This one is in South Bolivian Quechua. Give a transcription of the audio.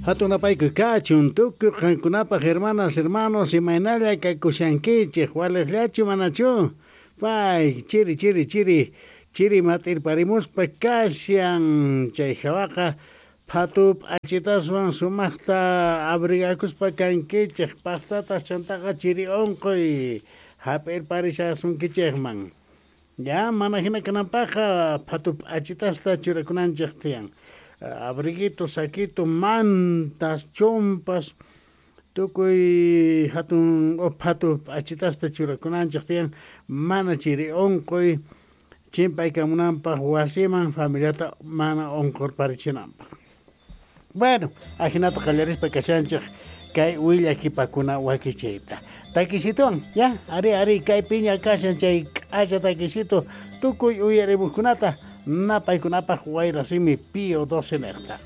Hatun napaykuy kachun tukuy qankunapaq, hermanas, hermanos, imaynalla kakushankichej, walejllachu manachu? Pay, chiri, chiri, chiri, chiri mat'irparimuspa kashan, chay hawaqa phatu p'achitaswan sumaqta abrigakuspa kankichej, paqtataq chantaqa chiri unquy hap'irparishasunkichejman. Ya, mana hina kananpaqqa phatu p'achitasta churakunanchej tiyan. Abriguito, saquito, mantas, chompas, tukuy hatun phatu p'achitasta churakunanchej tiyan, mana chiri unquy chimpaykamunanpaq wasiman familiata mana unqurparichinanpaq. Bueno, ajinata qallarispa kashanchej kay willakipakuna wakichiyta. Takisituwan, ya, ari, ari, kay piña kashan chay k'acha takisito tukuy uyarimuqkunata napaykunapaq Wayrasimi Pío 12 neqta.